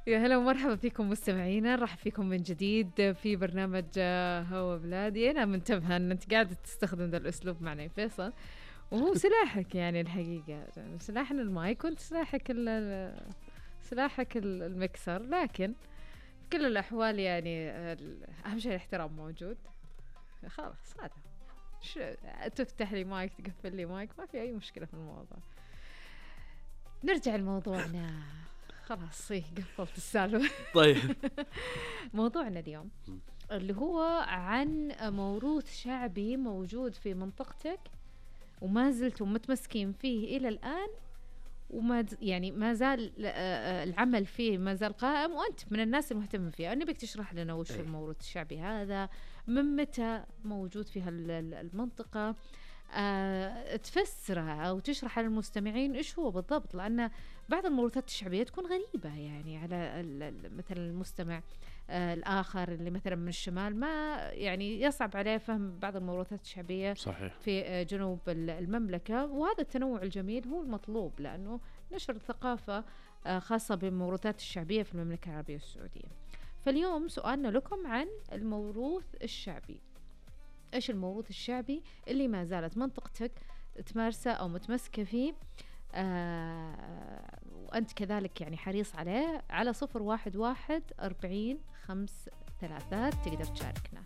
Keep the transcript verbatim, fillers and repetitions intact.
يا هلا ومرحبا فيكم مستمعينا، نرحب فيكم من جديد في برنامج هوا بلادي. أنا منتبهة أن أنت قاعدة تستخدم ذا الأسلوب معنا يا فيصل، وهو سلاحك يعني الحقيقة، سلاحنا المايك وأنت سلاحك سلاحك المكسر، لكن في كل الأحوال يعني أهم شيء الاحترام موجود. خلاص هذا تفتح لي مايك تقفل لي مايك، ما في أي مشكلة في الموضوع. نرجع لموضوعنا. خلاص إيه قفلت السالفة. طيب موضوعنا اليوم اللي هو عن موروث شعبي موجود في منطقتك وما زلتم متمسكين فيه إلى الآن، وما يعني ما زال العمل فيه ما زال قائم، وأنت من الناس المهتمين فيه. أنا بك تشرح لنا وش أيه. الموروث الشعبي هذا، من متى موجود في هالمنطقة، أه تفسره أو تشرح على المستمعين إيش هو بالضبط، لأن بعض الموروثات الشعبية تكون غريبة يعني على مثلا المستمع آه الآخر اللي مثلا من الشمال، ما يعني يصعب عليه فهم بعض الموروثات الشعبية. صحيح. في آه جنوب المملكة، وهذا التنوع الجميل هو المطلوب، لأنه نشر الثقافة آه خاصة بالموروثات الشعبية في المملكة العربية السعودية. فاليوم سؤالنا لكم عن الموروث الشعبي. إيش الموروث الشعبي اللي ما زالت منطقتك تمارسه أو متمسكة فيه، آه وأنت كذلك يعني حريص عليه؟ على صفر واحد واحد أربعين خمس ثلاثات تقدر تشاركنا.